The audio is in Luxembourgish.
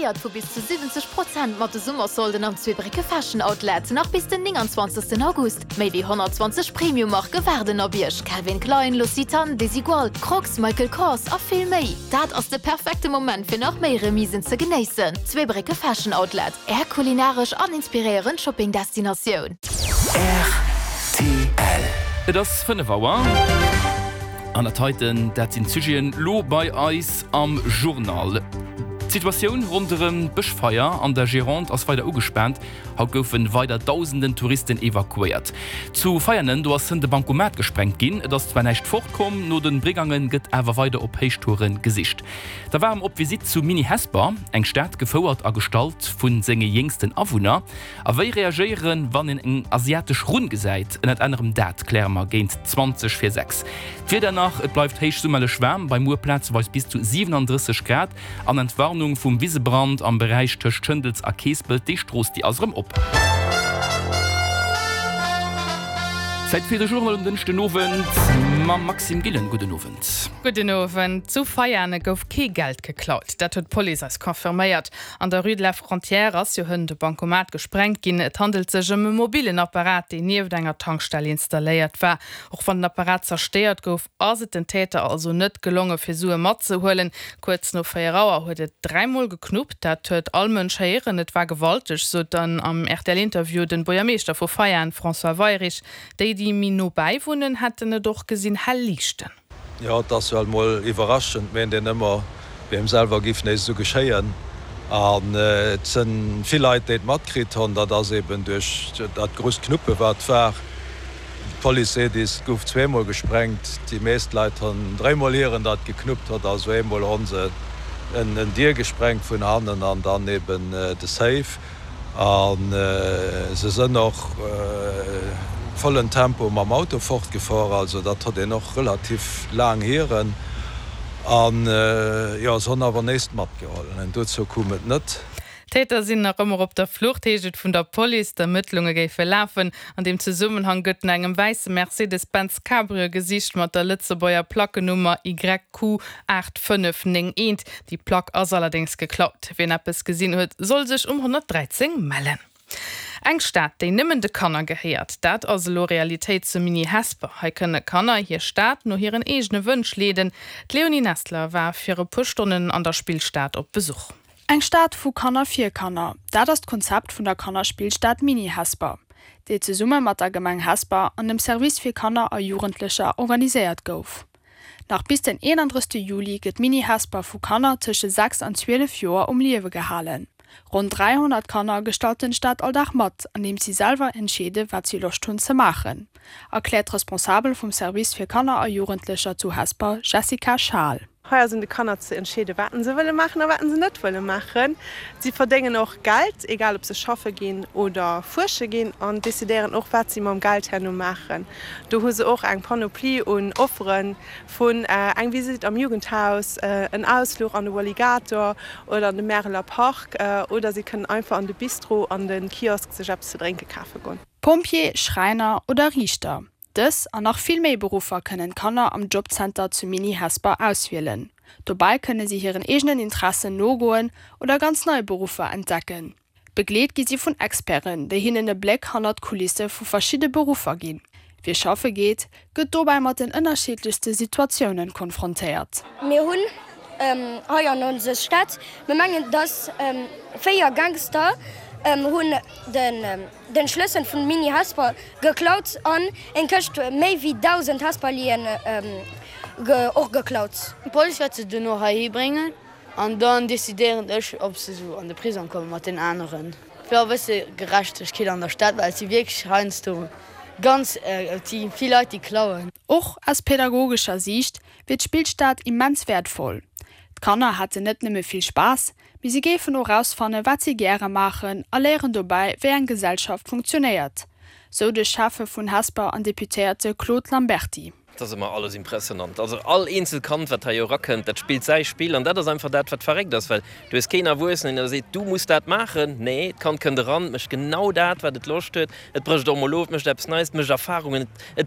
Profitéiert vu bis zu 70 Prozent mat de Summersolden am Zweebrécke Fashion Outlet, nach bis den 29 August. Méi wéi 120 Premium-Marke waarden op Iech, Calvin Klein, L'Occitane, Desigual, Crocs, Michael Kors a vill méi. Dat ass de perfekte Moment fir nach méi Remisen ze genéissen. Zweebrécke Fashion Outlet, Är kulinaresch an inspiréierend Shopping-Destinatioun. Rtl. Et ass 5 Auer an dat heiten, dat sinn d'Sujeten lo bei eis am Journal. D'Situatioun ronderëm d'Bëschfeier an der Gironde ass weider ugespaant. Haut goufe weider dausenden Touristen evakuéiert. Zu Veianen, do ass hënt e Bancomat gesprengt ginn. Et ass zwar näischt fortkomm, no de Brigange gëtt awer weider op Héichtoure gesicht. Da ware mer op Visitt zu Mini Hesper, eng Stad gefouert a gestalt vu senge jéngsten Awunner. A wéi reagéieren, wann een eng asiatesch Runn gesäit? Ënnert anerem dat kläre mer géint 20 vir 6. D'Wieder nach, Et bleift héich summerlech waarm, bei muer plazeweis bis zu 37 Grad. An Entwarnung vum Wisebrand am Beräich tëscht Schëndels a Keespelt, déi Strooss déi ass erëm op. Zäit fir de Journal um Dënschden Owend mam Maxime Gillen. Gudden Owend. Gudden Owend. Zu Veiane gouf kee Geld geklaut. Dat huet d'Police eis confirméiert. An der Rue de la Frontière ass jo hënt e Bancomat gesprengt ginn. Et handelt sech ëm e mobillen Apparat, deen nieft enger Tankstell installéiert war. Och wann den Apparat zerstéiert gouf, Ass et den Täter also net gelonge fir Sue matzehuelen? Kuerz no 4 Auer huet et dräimol geknuppt. Dat huet all Mënsch héieren. Et war gewalteg, sot dann am RTL-Interview den Buergermeeschter vu Veianen, François Weyrich. Déi, déi méi no bäi wunnen, hätten et och gesinn hell liichten. Jo, et ass well mol iwwerraschend, meent een ëmmer, wéi engem selwer giff nees esou geschéien. An et sënn vill Leit, déi et matkritt honn. Dat ass eben duerch dat grousst Knuppe wat war. D'Police seet is, et gouf zweemol gesprengt. Déi meest Leit honn dréimol hieren, datt et geknuppt hott. Also eemol honn se en Dier gesprengt vun hannen an dann eben de Safe. A se sënn och vollen Tempo mam Auto fortgefor. Also dat hott een och relativ laang hieren. An jo, se honn awer néist matgeholl. Dozou koum et net. D'Täter sinn nach ëmmer op der Flucht, heescht et vun der Police. D'Ermëttlunge géife lafen. An deem Zesummenhang gëtt no engem wäisse Mercedes-Benz Cabrio gesicht mat der Lëtzebuerger Plackenummer YQ 8591. Déi Plack ass allerdéngs geklaut. Wien eppes gesinn huet, soll sech um 113 mellen. Eng Stad, déi nëmmen de Kanner gehéiert, dat ass elo Realitéit zu Mini Hesper. Hei kënne Kanner hir Stad no hiren eegene Wënsch leeden. D'Léonie Nestler war fir e puer Stonnen an der Spillstad op Besuch. Eng Stad vu Kanner fir Kanner, dat ass d'Konzept vun der Kannerspillstad Mini Hesper, déi zesumme mat der Gemeng Hesper an dem Service fir Kanner a Jugendlecher organiséiert gouf. Nach bis den 31 Juli gëtt Mini Hesper vu Kanner tësche 6 an 12 Joer um Liewe gehalen. Ronn 300 Kanner gestalten d'Stad all Dag mat, andeems si selwer entscheede wat si Loscht hunn ze maachen, erkläert d'Responsabel vum Service fir Kanner a Jugendlecher zu Hesper, Jessica Schaal. Hei ass un de Kanner ze entscheeden, wat se wëlle maachen a wat se net wëlle maachen. Si verdéngen och Geld, egal ob se schaffe ginn oder fuersche ginn, an decidéieren och, wat si mam Geld herno maachen. Do hu se och eng Panoplie un Offere vun eng Visitt am Jugendhaus, en Ausfluch an de Walligator oder an de Märeler Park oder si kënnen einfach an de Bistro, an de Kiosk sech eppes ze drénke kafe goen. Pompjee, Schräiner oder Riichter, Dës an nach vill méi Beruffer kënnen d'Kanner am Jobcenter zu Mini Hesper auswielen. Dobäi kënne si hiren eegenen Interessen nogoen oder ganz nei Beruffer entdecken. Begleet gi si vun Experten, déi hinnen e Bléck hannert d'Kulisse vu verschidde Beruffer ginn. Wie schaffe geet, gëtt dobäi mat den ënnerschiddlechste Situatiounen konfrontéiert. Mir hunn hei an onser Stad, mir mengen dass 4 Gangster hunn den. Den Schlëssel vun Mini Hesper geklaut an eng Këscht méi wéi 1000 Hesperlien och geklaut. D'Police wäert se duerno heihi bréngen an dann decidéieren ech, ob se sou an de Prisong komme mat den aneren. Fir e bësse Gerechtegkeet an der Stad, well et si wierklech heiansdo ganz, et si vill Leit, déi klauen. Och aus pädagogescher Siicht wier d'Spillstad immens wäertvoll. D'Kanner hätten net nëmme vill Spaass, Mee si géifen och erausfannen, wat si gäre maachen a léieren dobäi, wéi eng Gesellschaft funktionéiert, sou de Schäffe vun Hesper an Deputéierte Claude Lamberty. Et ass ëmmer alles impressionant. Also all eenzelt Kand, wat hei erakënnt, dat spillt säi Spill. An dat ass einfach dat, wat verréckt ass, well du hues keen Erwuessenen, deen der seet, du muss dat maachen. Nee, d'Kand kënnt eran, mécht genau dat, wat et Loscht huet. Et brécht och mol of, et mécht eppes Neies, et mécht Erfarungen, et.